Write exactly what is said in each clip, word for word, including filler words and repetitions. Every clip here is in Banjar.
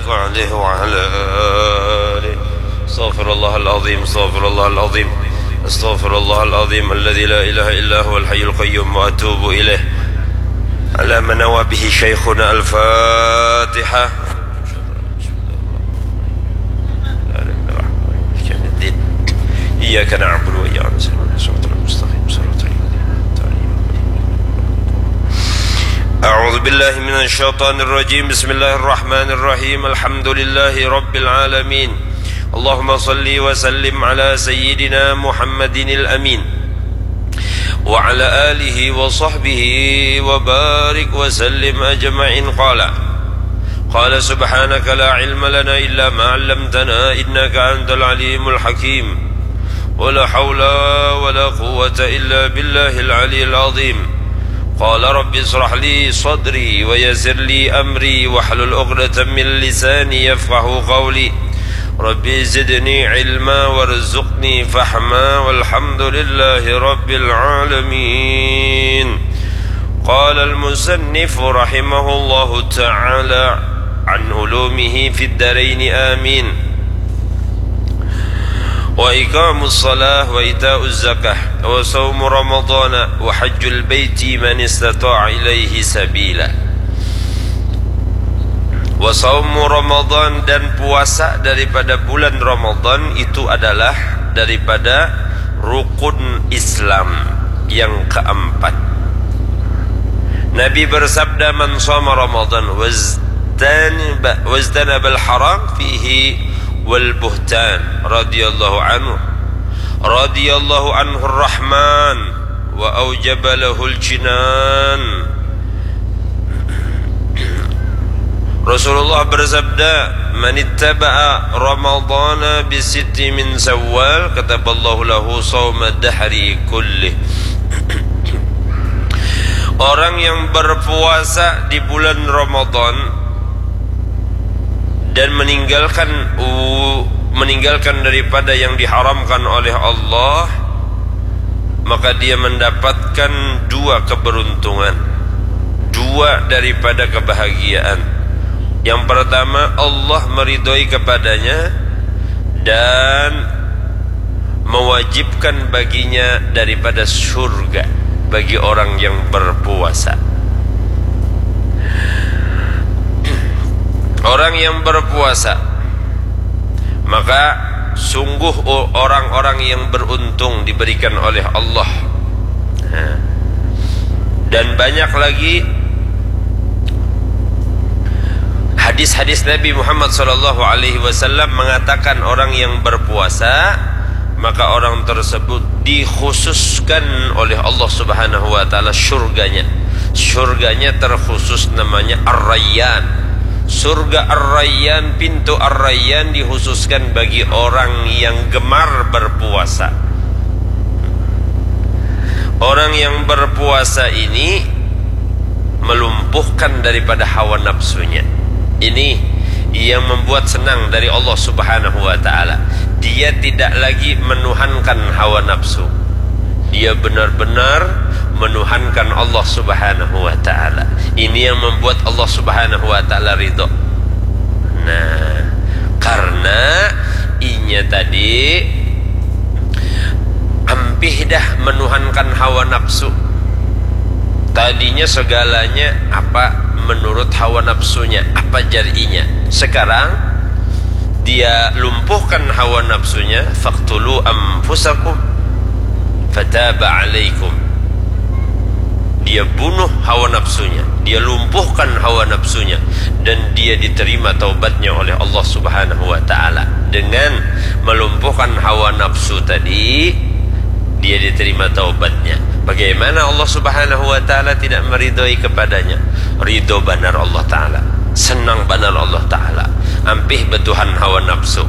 عليه وعلى آله. أستغفر الله العظيم، أستغفر الله العظيم، أستغفر الله العظيم الذي لا إله إلا هو الحي القيوم وأتوب إليه. على ما نوى به شيخنا. الفاتحة. إياك نعبد وإياك نستعين. صراط المستقيم، صراط الذين أنعمت عليهم. أعوذ بالله من الشيطان الرجيم. بسم الله الرحمن الرحيم. الحمد لله رب العالمين. اللهم صل وسلم على سيدنا محمد الأمين وعلى آله وصحبه وبارك وسلم أجمعين. قال، قال سبحانك لا علم لنا إلا ما علمتنا إنك أنت العليم الحكيم. ولا حول ولا قوة إلا بالله العلي العظيم. قال رب اشرح لي صدري ويسر لي أمري واحلل عقدة من لساني يفقه قولي. رب زدني علما وارزقني فهما والحمد لله رب العالمين. قال المصنف رحمه الله تعالى عن علومه في الدارين آمين. وإقام الصلاة وإيتاء الزكاة وصوم رمضان وحج البيت من استطاع إليه سبيلا. Wasaumu Ramadan, dan puasa daripada bulan Ramadan itu adalah daripada rukun Islam yang keempat. Nabi bersabda, "Man shoma Ramadan wajtanaba, wajtanabal haram fihi wal buhtan," radhiyallahu anhu, radhiyallahu anhu Rahman, wa aujaba lahul jinan. Rasulullah bersabda, "Manittaba'a Ramadana bisitti min Syawal, kataballahu lahu shauma dahri kulli." Orang yang berpuasa di bulan Ramadan dan meninggalkan u- meninggalkan daripada yang diharamkan oleh Allah, maka dia mendapatkan dua keberuntungan, dua daripada kebahagiaan. Yang pertama, Allah meridhoi kepadanya dan mewajibkan baginya daripada surga bagi orang yang berpuasa. Orang yang berpuasa, maka sungguh o- orang-orang yang beruntung diberikan oleh Allah. Nah, dan banyak lagi hadis-hadis Nabi Muhammad sallallahu alaihi wasallam mengatakan orang yang berpuasa, maka orang tersebut dikhususkan oleh Allah Subhanahu wa taala surganya. Surganya terkhusus namanya Ar-Rayyan. Surga Ar-Rayyan, pintu Ar-Rayyan dikhususkan bagi orang yang gemar berpuasa. Orang yang berpuasa ini melumpuhkan daripada hawa nafsunya. Ini yang membuat senang dari Allah Subhanahu wa taala. Dia tidak lagi menuhankan hawa nafsu. Dia benar-benar menuhankan Allah Subhanahu wa taala. Ini yang membuat Allah Subhanahu wa taala ridho. Nah, karena inya tadi ampih dah menuhankan hawa nafsu. Tadinya segalanya apa menurut hawa nafsunya, apa jar inya. Sekarang dia lumpuhkan hawa nafsunya, "Faqtulu anfusakum fataba alaikum." Dia bunuh hawa nafsunya, dia lumpuhkan hawa nafsunya, dan dia diterima taubatnya oleh Allah Subhanahu wa taala. Dengan melumpuhkan hawa nafsu tadi, dia diterima taubatnya. Bagaimana Allah Subhanahu wa taala tidak meridhoi kepadanya? Ridho banar Allah taala, senang banar Allah taala, ampih batuhan hawa nafsu.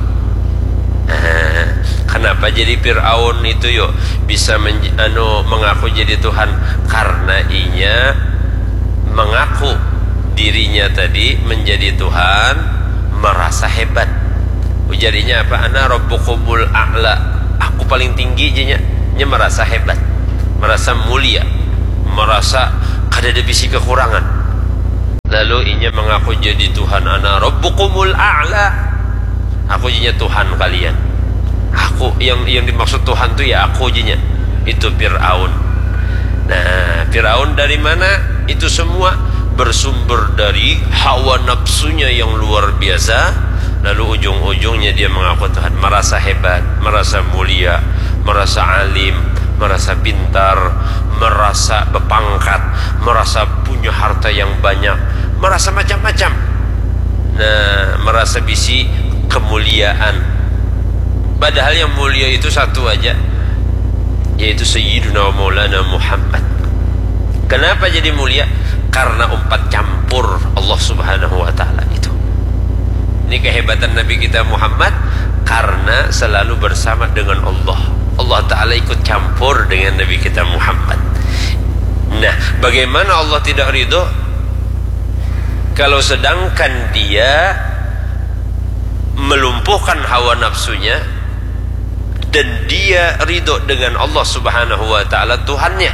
Nah, kenapa jadi Firaun itu yo bisa menj- anu mengaku jadi Tuhan? Karena inya mengaku dirinya tadi menjadi Tuhan, merasa hebat. Ujar inya apa? "Ana rabbukumul a'la." Aku paling tinggi, janya. Nya merasa hebat, merasa mulia, merasa kada ada bisi kekurangan. Lalu inya mengaku jadi Tuhan, "Ana rabbukumul a'la." Aku jadinya Tuhan kalian. Aku yang yang dimaksud Tuhan tu ya aku jadinya. Itu Fir'aun. Nah, Fir'aun dari mana? Itu semua bersumber dari hawa nafsunya yang luar biasa. Lalu ujung-ujungnya dia mengaku Tuhan, merasa hebat, merasa mulia, merasa alim, merasa pintar, merasa berpangkat, merasa punya harta yang banyak, merasa macam-macam. Nah, merasa bisi kemuliaan. Padahal yang mulia itu satu aja, yaitu Sayyiduna Maulana Muhammad. Kenapa jadi mulia? Karena umpat campur Allah Subhanahu wa Ta'ala itu. Ini kehebatan Nabi kita Muhammad, karena selalu bersama dengan Allah. Allah Ta'ala ikut campur dengan Nabi kita Muhammad. Nah, bagaimana Allah tidak ridho? Kalau sedangkan dia melumpuhkan hawa nafsunya dan dia ridho dengan Allah Subhanahu wa Ta'ala, Tuhannya,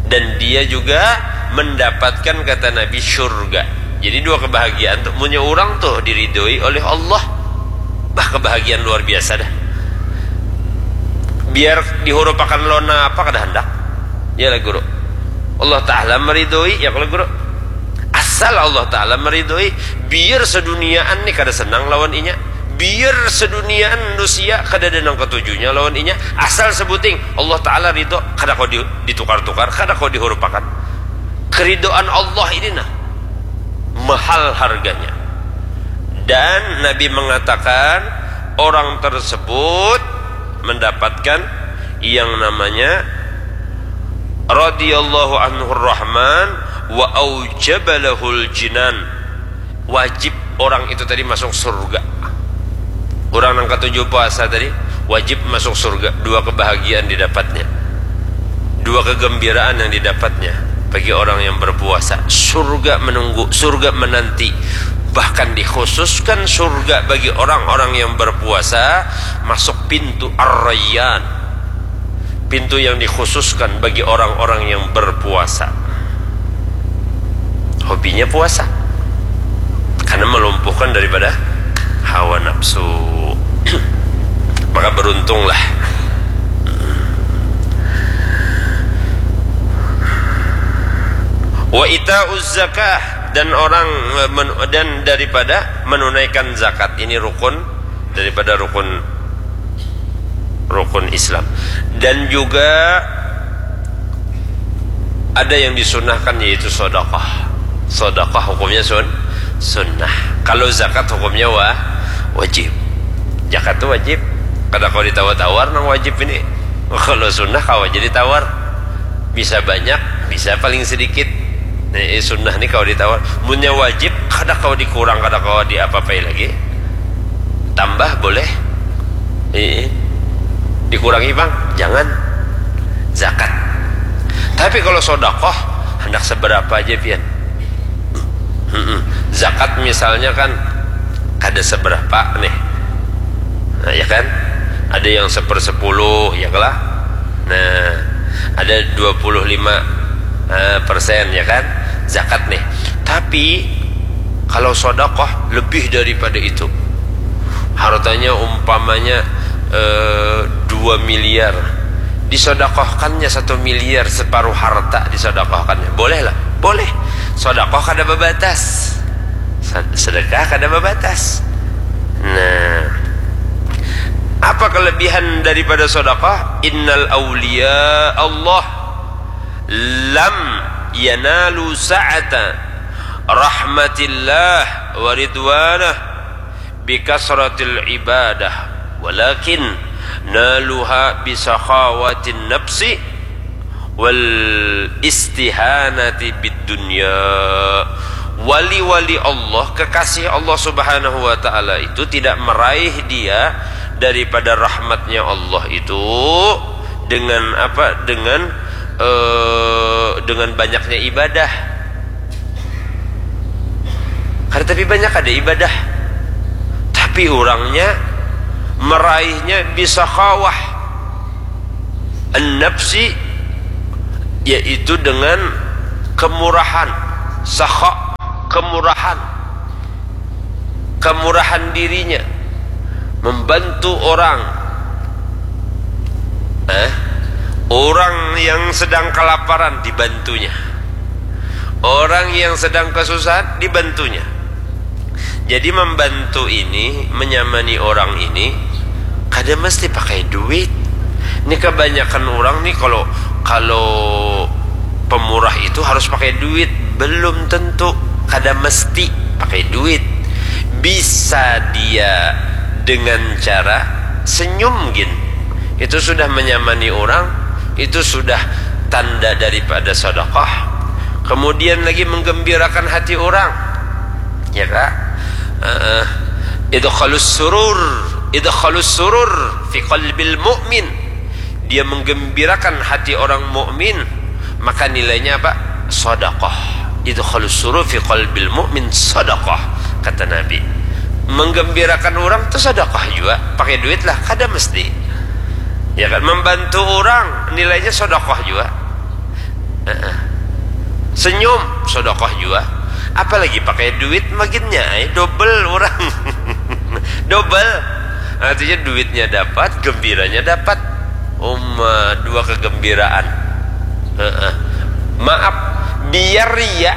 dan dia juga mendapatkan, kata Nabi, surga. Jadi dua kebahagiaan tuh, punya orang tuh diridhoi oleh Allah. Bah, kebahagiaan luar biasa dah. Biar dihurupakan lawan apa kada handak. Ya lah, Guru. Allah Ta'ala meridhoi, ya kalau, Guru. Asal Allah Ta'ala meridhoi, biar seduniaan ni kada senang lawan inya. Biar seduniaan manusia kada ada nang katujunya lawan inya. Asal sebuting Allah Ta'ala ridho, kada kau di- ditukar-tukar, kada kau dihurupakan. Keridhaan Allah ini nah, mahal harganya. Dan Nabi mengatakan, orang tersebut mendapatkan yang namanya radhiyallahu anhu rahman wa aujaba lahul jinan. Wajib orang itu tadi masuk surga. Orang nang katuju puasa tadi wajib masuk surga. Dua kebahagiaan didapatnya. Dua kegembiraan yang didapatnya bagi orang yang berpuasa. Surga menunggu, surga menanti. Bahkan dikhususkan surga bagi orang-orang yang berpuasa, masuk pintu Ar-Rayyan. Pintu yang dikhususkan bagi orang-orang yang berpuasa. Hobinya puasa. Karena melumpuhkan daripada hawa nafsu. Maka beruntunglah. Wa ita'uz zakah, dan orang men- dan daripada menunaikan zakat. Ini rukun daripada rukun rukun Islam. Dan juga ada yang disunahkan, yaitu sodakoh. Sodakoh hukumnya sun sunnah. Kalau zakat hukumnya wa wajib. Zakat tu wajib. Kada kau ditawar-tawar nang wajib ini. Kalau sunnah kawa jadi tawar. Bisa banyak, bisa paling sedikit. Nah, eh, sunnah ni kawa ditawar. Munnya wajib, kada kawa dikurang, kada kawa diapa-apai lagi. Tambah boleh. Eh, dikurangi bang, jangan. Zakat. Tapi kalau sodakoh, hendak seberapa aja pian. Mm-mm. Zakat misalnya kan kada seberapa nih. Nah, ya kan? Ada yang sepersepuluh, ya lah. Nah, ada dua puluh lima eh, persen, ya kan? Zakat nih. Tapi kalau sodakoh lebih daripada itu. Hartanya umpamanya eh, dua miliar. Disodakohkannya satu miliar, separuh harta disodakohkannya. Boleh lah, boleh. Sodakoh kada babatas. Sed- Sedekah kada babatas. Nah, apa kelebihan daripada sodakoh? Innal awliya Allah lam yanalu sa'ata rahmatillah wa ridwanah bikasratil ibadah, walakin naluha bisakhawatin nafsi wal istihanati bid dunya. Wali-wali Allah, kekasih Allah Subhanahu wa Ta'ala itu tidak meraih dia daripada rahmatnya Allah itu dengan apa? Dengan eh, dengan banyaknya ibadah. Kada tapi banyak ada ibadah, tapi orangnya meraihnya bisakhawah an-nafsi, yaitu dengan kemurahan, sakha, kemurahan, kemurahan dirinya, membantu orang. Eh, orang yang sedang kelaparan dibantunya. Orang yang sedang kesusahan dibantunya. Jadi membantu ini, menyamani orang ini kada mesti pakai duit. Ini kebanyakan orang nih kalau kalau pemurah itu harus pakai duit, belum tentu, kada mesti pakai duit. Bisa dia dengan cara senyum gin, itu sudah menyamani orang, itu sudah tanda daripada sedekah. Kemudian lagi menggembirakan hati orang, ya kak. Uh, idkhalus surur, idkhalus surur fi qalbil mu'min. Dia menggembirakan hati orang mukmin, maka nilainya apa? Sedekah. Idkhalus surur fi qalbil mu'min sedekah, kata Nabi. Menggembirakan orang tu sedekah juga, pakai duit lah, kada mesti. Ya kan, membantu orang nilainya sedekah juga. Senyum sedekah juga. Apalagi pakai duit maginnya, eh, double orang. Double. Artinya duitnya dapat, gembiranya dapat. Uma, dua kegembiraan. Heeh. Maaf, biar ria,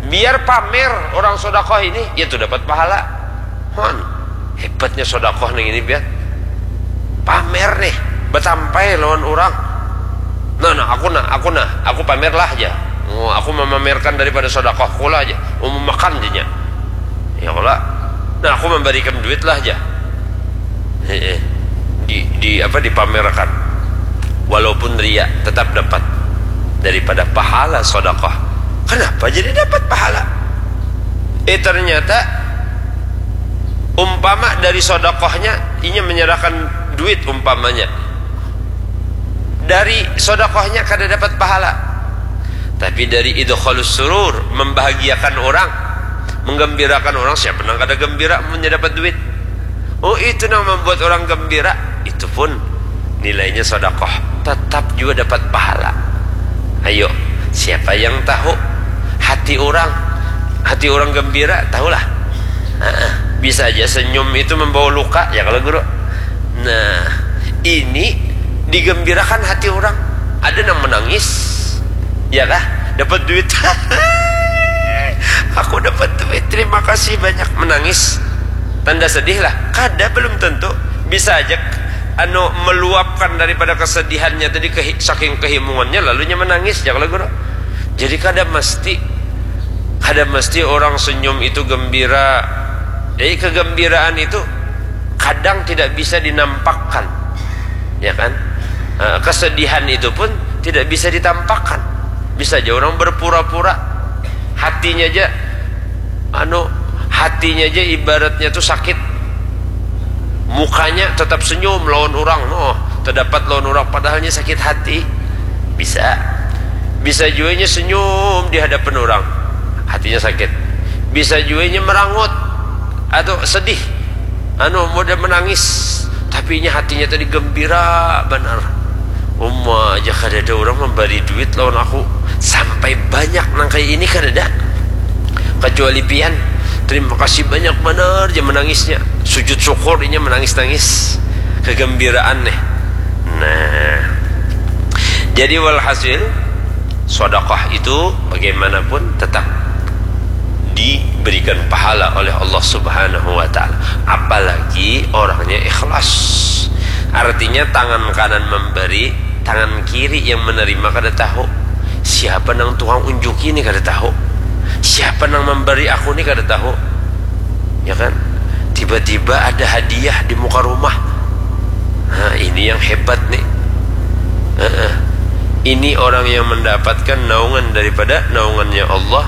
biar pamer orang sedekah ini, ya tu dapat pahala. Hon, hebatnya sedekah nih ini, biar pamer nih, betampai lawan orang. Nah, nah, aku nah, aku nah, aku pamer lah aja. Oh, aku memamerkan daripada sedekahku lah aja. Oh, memakan jadinya. Ya kalau, nah, aku memberikan duit lah aja. Heeh. Di, di apa, dipamerkan. Walaupun ria, tetap dapat daripada pahala sedekah. Kenapa jadi dapat pahala? Eh, ternyata umpama dari sedekahnya, inya menyerahkan duit umpamanya, dari sedekahnya kada dapat pahala, tapi dari idkhalus surur, membahagiakan orang, menggembirakan orang, siapa nang kada gembira munnya dapat duit? Oh, itu nang membuat orang gembira, itu pun nilainya sedekah, tetap juga dapat pahala. Ayo, siapa yang tahu hati orang? Hati orang gembira, tahulah. Heeh. Bisa aja senyum itu membawa luka, ya kalau guru. Nah, ini digembirakan hati orang. Ada yang menangis, ya kah? Dapat duit. Aku dapat duit, terima kasih banyak, menangis. Tanda sedih lah. Kada, belum tentu. Bisa aja anu meluapkan daripada kesedihannya tadi, kehi-, saking kehimungannya, lalunya menangis, ya kalau guru. Jadi kada mesti, kada mesti orang senyum itu gembira. Jadi kegembiraan itu kadang tidak bisa dinampakkan, ya kan? Eh, kesedihan itu pun tidak bisa ditampakkan. Bisa aja orang berpura-pura, hatinya aja, anu, hatinya aja ibaratnya tuh sakit, mukanya tetap senyum lawan orang, oh, terdapat lawan orang, padahalnya sakit hati. Bisa, bisa juga nya senyum di hadapan orang, hatinya sakit. Bisa juga nya merangut atau sedih, anu, model menangis, tapi nya hatinya tadi gembira banar. Uma aja kadada orang membari duit lawan aku sampai banyak nang kayak ini, kadada. Kecuali pian, terima kasih banyak banar, dia menangisnya. Sujud syukur, inya menangis-nangis. Kegembiraan nih. Nah, jadi walhasil, sedekah itu bagaimanapun tetap diberikan pahala oleh Allah Subhanahu wa Ta'ala, apalagi orangnya ikhlas. Artinya, tangan kanan memberi, tangan kiri yang menerima kada tahu. Siapa nang tukang unjuki ni kada tahu. Siapa nang memberi aku ni kada tahu. Ya kan? Tiba-tiba ada hadiah di muka rumah. Nah, ini yang hebat nih. Heeh. Ini orang yang mendapatkan naungan daripada naungannya Allah,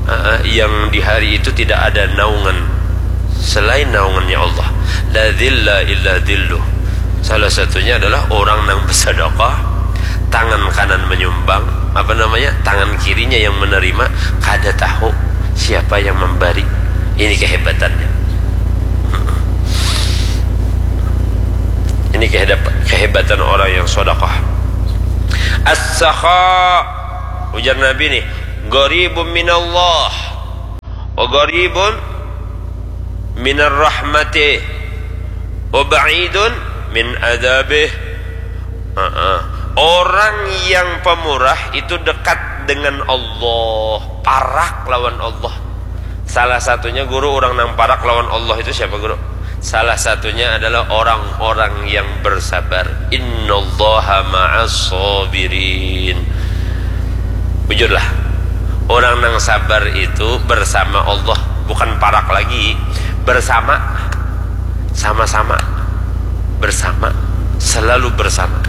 heeh, yang di hari itu tidak ada naungan selain naungannya Allah. La dzilla illa dzilluh. Salah satunya adalah orang nang bersedekah, tangan kanan menyumbang, apa namanya, tangan kirinya yang menerima, kada tahu siapa yang memberi. Ini kehebatannya. Ini kehedap-, kehebatan orang yang sedekah. As-sakha, ujar Nabi nih, qaribun minallah. Wa qaribun minar rahmati wa ba'idun min adzabih. Orang yang pemurah itu dekat dengan Allah, parak lawan Allah. Salah satunya, guru, orang nang parak lawan Allah itu siapa, guru? Salah satunya adalah orang-orang yang bersabar. Innallaha ma'as sabirin. Bujurlah, orang nang sabar itu bersama Allah, bukan parak lagi, bersama, sama-sama, bersama, selalu bersama.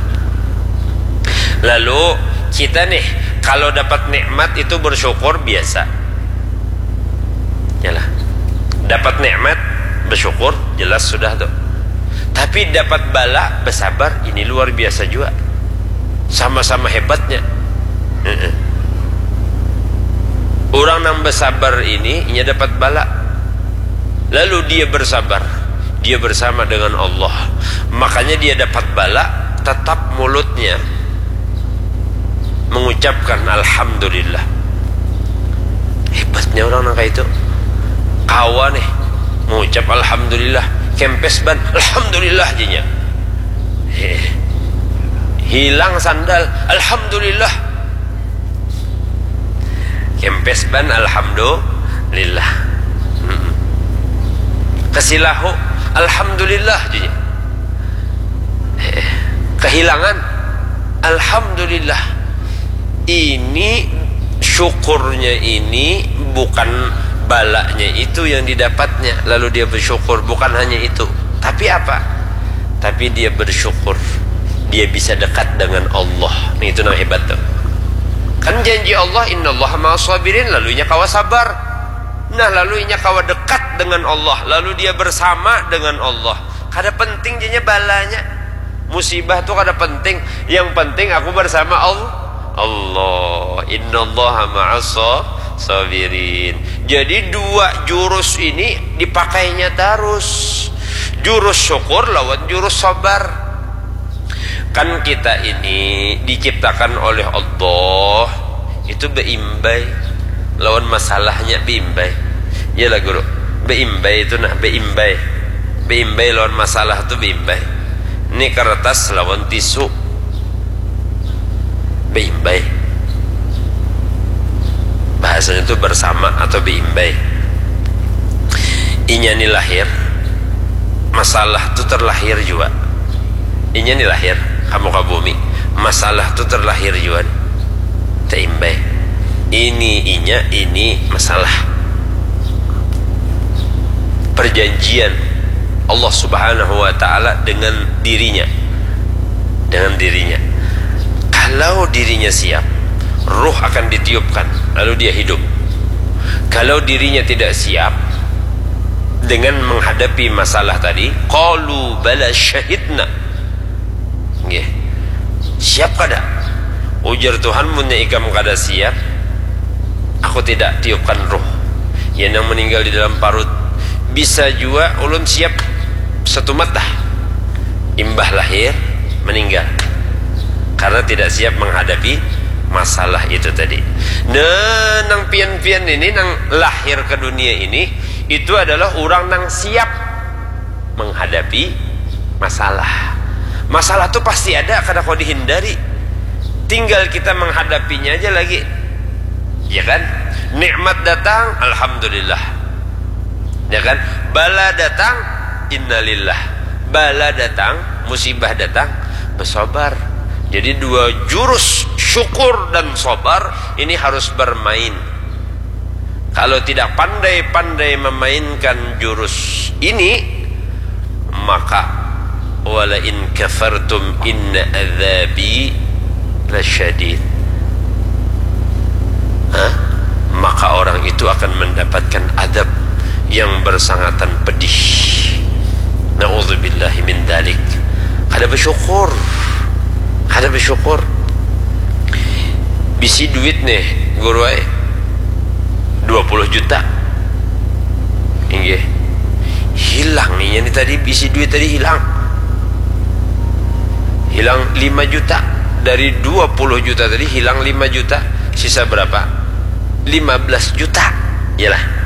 Lalu kita nih, kalau dapat nikmat itu bersyukur biasa. Yalah. Dapat nikmat, bersyukur, jelas sudah tuh. Tapi dapat bala, bersabar, ini luar biasa juga. Sama-sama hebatnya. Orang yang bersabar ini, inya dapat bala. Lalu dia bersabar, dia bersama dengan Allah. Makanya dia dapat bala, tetap mulutnya mengucapkan alhamdulillah. Hebatnya orang nang kayak itu. Kawa nih mengucap alhamdulillah, kempes ban, alhamdulillah jadinya. Hilang sandal, alhamdulillah. Kempes ban, alhamdulillah. Kesilahu, alhamdulillah jadinya. Kehilangan, alhamdulillah. Ini syukurnya ini bukan balanya itu yang didapatnya, lalu dia bersyukur, bukan hanya itu. Tapi apa? Tapi dia bersyukur, dia bisa dekat dengan Allah. Nah, itu nang hebat tuh. Kan janji Allah, "Innallaha ma'as sabirin," lalu inya kawa sabar. Nah, lalu inya kawa dekat dengan Allah, lalu dia bersama dengan Allah. Kada penting jadinya balanya. Musibah tuh kada penting. Yang penting aku bersama Allah. Allah. Innallaha ma'as sabirin. Jadi dua jurus ini dipakainya terus. Jurus syukur lawan jurus sabar. Kan kita ini diciptakan oleh Allah itu beimbai lawan masalahnya, beimbai. Iyalah, guru. Beimbai itu nah, beimbai. Beimbai lawan masalah tu beimbai. Ini kertas lawan tisu. Beimbai. Bahasanya tu bersama atau beimbai. Inya ni lahir, masalah tu terlahir jua. Inya ni lahir ka muka bumi, masalah tu terlahir jua ni. Teimbai. Ini inya, ini masalah. Perjanjian Allah Subhanahu wa Ta'ala dengan dirinya. Dengan dirinya. Kalau dirinya siap, ruh akan ditiupkan, lalu dia hidup. Kalau dirinya tidak siap dengan menghadapi masalah tadi, qalu bala syahidna. Nggih. Siap kada? Ujar Tuhan, munnya ikam kada siap, aku tidak tiupkan ruh. Ya, nang meninggal di dalam parut. Bisa jua ulun siap setumat dah. Imbah lahir, meninggal. Karena tidak siap menghadapi masalah itu tadi. Nah, nang pian-pian ini, nang lahir ke dunia ini, itu adalah orang nang siap menghadapi masalah. Masalah tuh pasti ada, kada kau dihindari. Tinggal kita menghadapinya aja lagi. Ya kan? Nikmat datang, alhamdulillah. Ya kan? Bala datang, innalillah. Bala datang, musibah datang, bersabar. Jadi dua jurus syukur dan sabar ini harus bermain. Kalau tidak pandai-pandai memainkan jurus ini, maka wala in kafartum inna adzabi lasyadid. Hah? Maka orang itu akan mendapatkan adab yang bersangatan pedih. Na'udzubillahi min dzalik. Kada bersyukur. Kada bersyukur. Bisi duit nih, guru ai. Dua puluh juta. Inggih. Hilang inya nih tadi, bisi duit tadi hilang. Hilang lima juta. Dari dua puluh juta tadi hilang lima juta. Sisa berapa? Lima belas juta. Iyalah.